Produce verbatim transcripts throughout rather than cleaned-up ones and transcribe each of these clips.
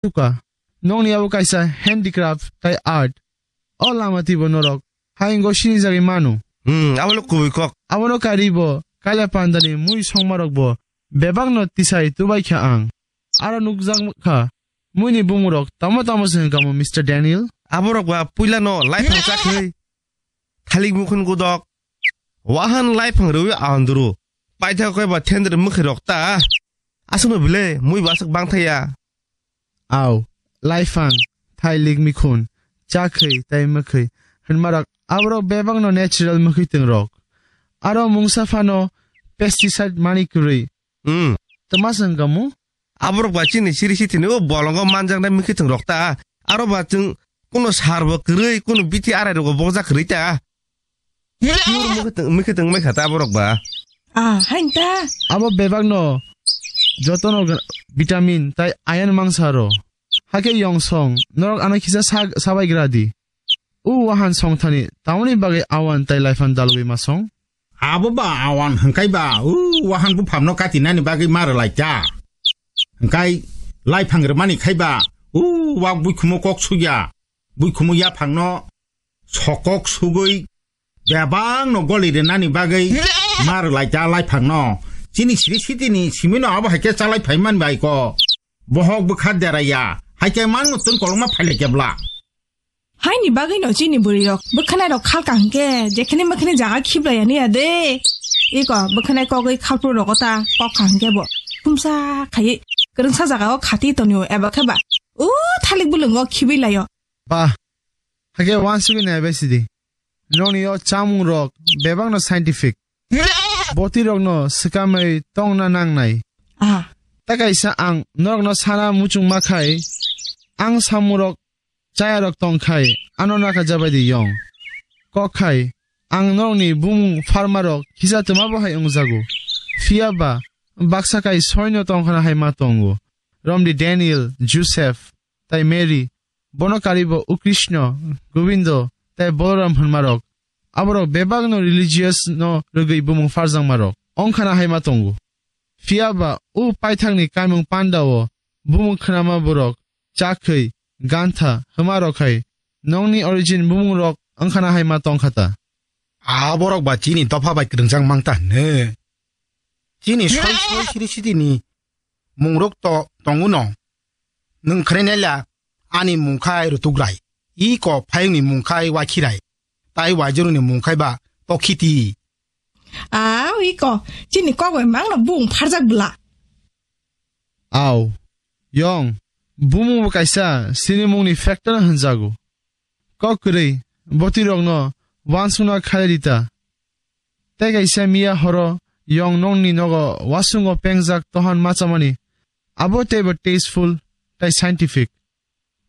Tuka, nokni abo kaisa handicraft tai art. O lama twibo norok hayungo sinijagwi mano. Hmm, abo le kubui kok. Abono karibo kaila pandani mui songmarokbo bebakno tisai tubai kha ang. Aro nukjak kha muini bumungrok tamo tamo se hwnkha mo, Mister Daniel? Aborok ba puilano laiphang chakhwi, thalik mukhun gudok, wahan laiphang rwi anduru, paithak khe ba thendri mwkhwi rok ta. Aswkno bile mui ba aswk bangthaya. Au, laiphang, thailik mikhun, chakhwi tai mwkhwi hwnmarok aborok bebakno natural mwkhwitwng rok. Aro mungsa phano pesticide mani kwrwi. Hmm. Twma se hwnkha mo? Aborok ba chini siri sitini o bolongo manjaknai mwkhwitwng rok ta. Aro ba chwng kuno sar bo kwrwi, kuno bithi arai rogo bokjak kwrwi ta. Pure mwkhwtwng, mwkhwtwng mai kha ta borok ba. Ah, hain ta. Abo bebak no joto no vitamin tai iron mangsa ro. Hake yong song, norok ano kisa sa, sabai gra di. U wahan song thani, tamoni bagwi awan tai laifan dalwi ma song? Abo ba awan hwnkhe ba, u wahan buphang no kati nani bagwi ma rwlai ta. Hwnkhe laiphang rwmani khai ba, u wak buikhumo kok sugya, buikhumo yaphang no sokok sugwi bebak no goli rwnani bagwi ma rwlai ta laiphang no. Chini siri sitini simi no abo hai khe chalai phai man bai ko. Bohok bwkha deraya, hai khe mang no tun kolongma phaile kebla. Haini bagwi no chini bwrwi rok bwkhanai rok khalka hwnkhe jekhani mwkhani jaga khiblai ya niya de. Iko bwkhanai kogwi khalpro rogo ta kok kha hwnkhe bo khumsa khaiwi kwrwngsa jaga o khati tonio eba khe ba u thalik bulungo khibwi laio. Ba, hake wansugwi naibai sidi. Nokni o chamung rok bebak no scientific. Boti rok no swkamwi tongna nangnai. Ah. Ta kaisa ang norok no sana muchung ma khai, ang samung rok chaya rok tong khai, ano naka jabai di yong. Kok khai, ang norok ni bumung pharma rok kisa twma bo hai wngjago. Phiya ba, baksa kai soino tong khana hai ma tongo. Romdi Daniel, Joseph, tai Mary, bono karibo u Krishna, Govindo, tai Balaram hwnmarok. Aborok bebakno religious no rwgwi bumung pharjakmarok. Ongkhana hai ma tongo. Phiya ba u paithakni kaimung pandao bumung khnama borok chakhwi, gantha, hwmarok hai nokni origin bumungrok ongkhana hai ma tongkha ta. Aborok ba chini dopha bai kwrwngjak mang ta hwnwi. Chini soi soi siri sitini mungrok to tongo no. Nwng khre nela ani mungkhai rutukrai. I ko phayungni mungkhai wakhirai. Tai waijoruni mungkhai ba tokhiti. Au, i ko chini kok bai mangno bung pharjak bwla. Au, yong, bumung bo kaisa sinimungni factor hwnjago. Kok kwrwi, botirokno wansukna khalai rita. Tei kaisa miya horo yong nokni nogo wasungo pengjak tohan machamani. Abo teibo tasteful tei scientific.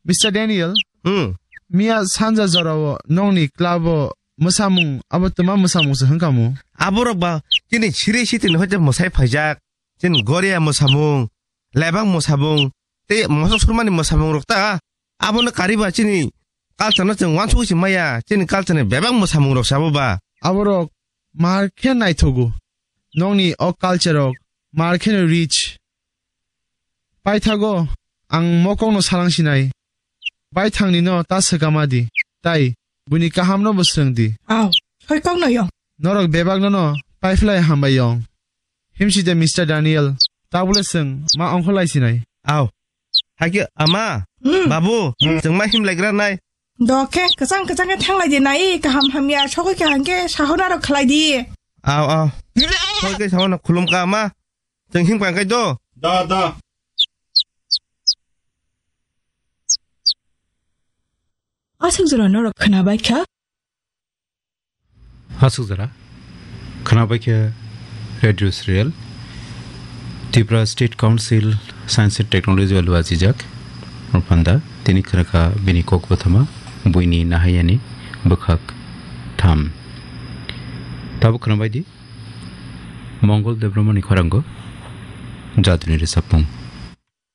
Mister Daniel, Hmm. miya sanja jorao nokni club-o mwsamung abo twma mwsamung se hwnkhamu? Aborok ba chini siri sitini hoite mwsai phaijak. Chini Goria mwsamung, Lebang mwsamung, tei mosok surmani mwsamung rok ta. Abono kariba chini culture no chwng wansugwi se maya, chini culture ni bebak mwsamung rok sabo ba. Aborok mar khe naithogo. Nokni o culture rok mar khe no rich. Paithago ang mokokno salang sinai. Baithangni no ta swkama di, tai buini kahamno bo swrwng di. Au, soi kokno yong. Norok bebakno no paiphlai hambai yong. Himside Mister Daniel, tabule swng ma ongkholai sinai. Au. Hakhe ama, Hmm. babu, Hmm. chwng ma himlaigra nai. Dokhe, kwchang kwchang khe thanglai di nai, kaham hamya sogwi kha hangkhe sahona rok khlai di. Au, au. Sogwi khe sahona khulum ka ama. Chwng himkha khe do. Da, da. Aswk jora norok khwnabai kha? Aswk jora khwnabai kha radio serial Tripura State Council Science and Technology bai lwajijak. Rwphanda tini khwrwkha bini kok bwthama buini nahayani bwkhak tham. Tabuk khwnabai di. Mongol Debbarmani khoranggo jaduni rwchapmung.